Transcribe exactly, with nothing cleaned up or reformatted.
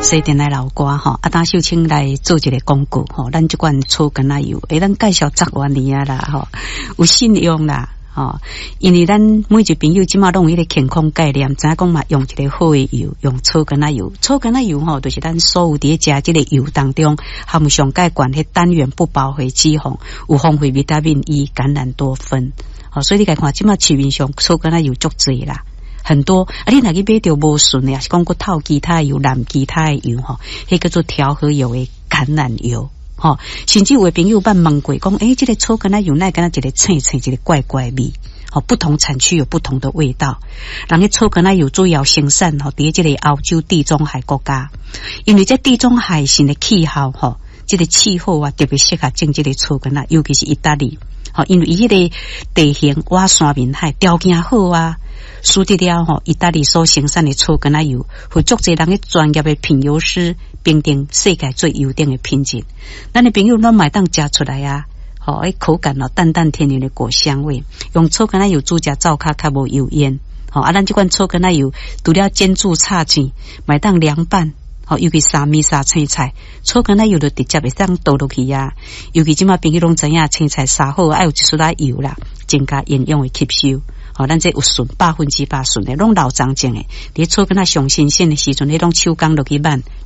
西电的老歌吼，啊，當秀清來做一个廣告吼，咱這款草柑仔油，欸，咱介紹十外年啊啦吼，有信用啦吼，因為咱每一個朋友這馬攏有彼個健康概念，知影講嘛，用一个好的油，用草柑仔油，草柑仔油吼，就是咱所有佇咧食這个油當中，含上蓋懸彼單元不飽和脂肪，有豐富維他命 E、橄欖多酚，吼，所以你共看，這馬市面上草柑仔油足濟啦。很多啊！你若去買著無純的，抑是講閣透其他的油、染其他的油吼，彼叫做調和油的橄欖油吼。甚至有的朋友捌問過，講欸，這个草柑仔油哪會敢若一个青青，一个怪怪味？吼，不同產區有不同的味道。人彼草柑仔油主要生產吼，佇這个歐洲地中海國家，因為這地中海型的氣候吼，這个氣候啊，特別適合種這个草柑仔，尤其是意大利，吼，因為伊彼個地形倚山面海，條件好啊。使得了吼，意大利所生產的草柑仔油，予足濟人的專業的品油師評定世界最優等的品質。咱的朋友攏嘛會當食出來啊，吼，彼口感哦，淡淡甜甜的果香味。用草柑仔油煮食，灶跤較無油煙。吼，啊，咱這款草柑仔油，除了煎煮炒煎，嘛會當涼拌。吼，尤其沙米沙青菜，草柑仔油就直接會當倒落去啊。尤其這馬朋友攏知影，青菜沙好愛有一絲仔油啦，增加營養的吸收。吼，咱這有純百分之百純的，攏老欉種的。佇草柑仔上新鮮的時陣，彼攏手工落去挽。